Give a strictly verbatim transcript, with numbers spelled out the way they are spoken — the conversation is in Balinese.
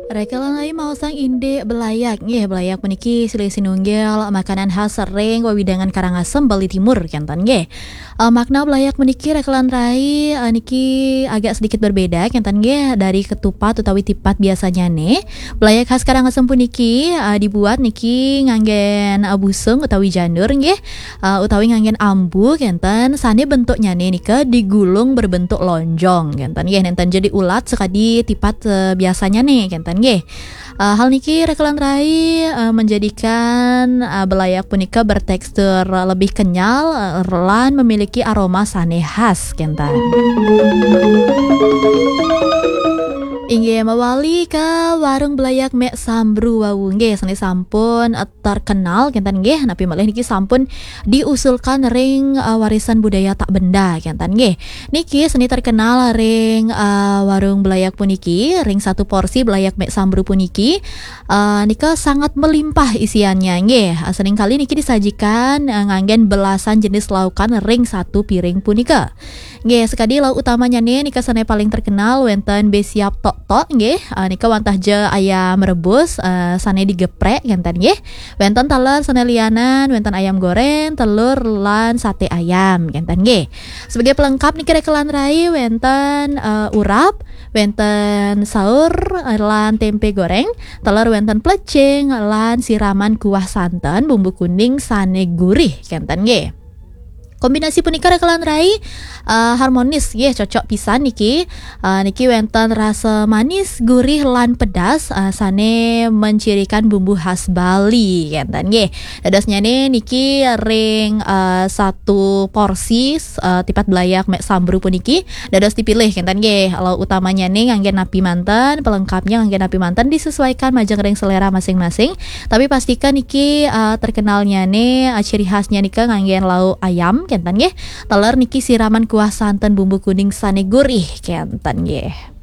Rekelan rai maosang indik belayak nggih. Belayak puniki silih sinunggil makanan khas ring wewidangan Karangasem, Bali Timur, kenten nggih. Eh, makna belayak puniki, rekelan rai, eh, niki agak sedikit berbeda, kenten nggih, dari ketupat utawi tipat biasanya nih. Belayak khas Karangasem puniki, eh, dibuat niki nganggen, eh, busung utawi janur nggih, eh, utawi nganggen ambu, kenten, sane bentuknya nih nika digulung berbentuk lonjong, kenten nggih, nenten jadi ulat sekadi tipat, eh, biasanya nih, kenten nggih. Eh, hal niki, rekelan rai, eh, menjadikan, eh, belayak punika bertekstur lebih kenyal, eh, lan memiliki aroma sane khas, kenten. Inggih, mawali ke warung belayak Mek Sambru wau nggih, sane sampun, eh, terkenal, kenten nggih, napi malih niki sampun diusulkan ring, eh, warisan budaya tak benda, kenten nggih. Niki seni terkenal ring, eh, warung belayak puniki, ring satu porsi belayak Mek Sambru puniki, eh, nika sangat melimpah isiannya nggih. Eh, seringkali niki disajikan, eh, nganggen belasan jenis laukan ring satu piring punika. Nggih, sekadi lauk utamanya nih, nika sane paling terkenal wenten besiap tok-tok nggih. Eh, nika wantah ja ayam rebus, eh, sane digeprek, kenten nggih. Wenten taler sane lianan, wenten ayam goreng, telur, lan sate ayam, kenten nggih. Sebagai pelengkap niki, rekelan rai, wenten, eh, urap, wenten saur, eh, lan tempe goreng, taler wenten plecing, lan siraman kuah santen bumbu kuning sane gurih, kenten nggih. Kombinasi punika, rekelan rai, eh, harmonis nggih, cocok pisan niki. Eh, niki wenten rasa manis, gurih, lan pedas, eh, sane mencirikan bumbu khas Bali, kenten nggih. Dadosnyane niki ring, eh, satu porsi, eh, tipat belayak Mek Sambru puniki dados dipilih, kenten nggih. Lauk utamanyane nganggen napi manten, pelengkapnya nganggen napi manten, disesuaikan majeng ring selera masing-masing. Tapi pastikan niki, eh, terkenalnyane, eh, ciri khasnya nika nganggen lauk ayam, kenten nggih. Taler niki siraman kuah santen bumbu kuning sane gurih, kenten nggih.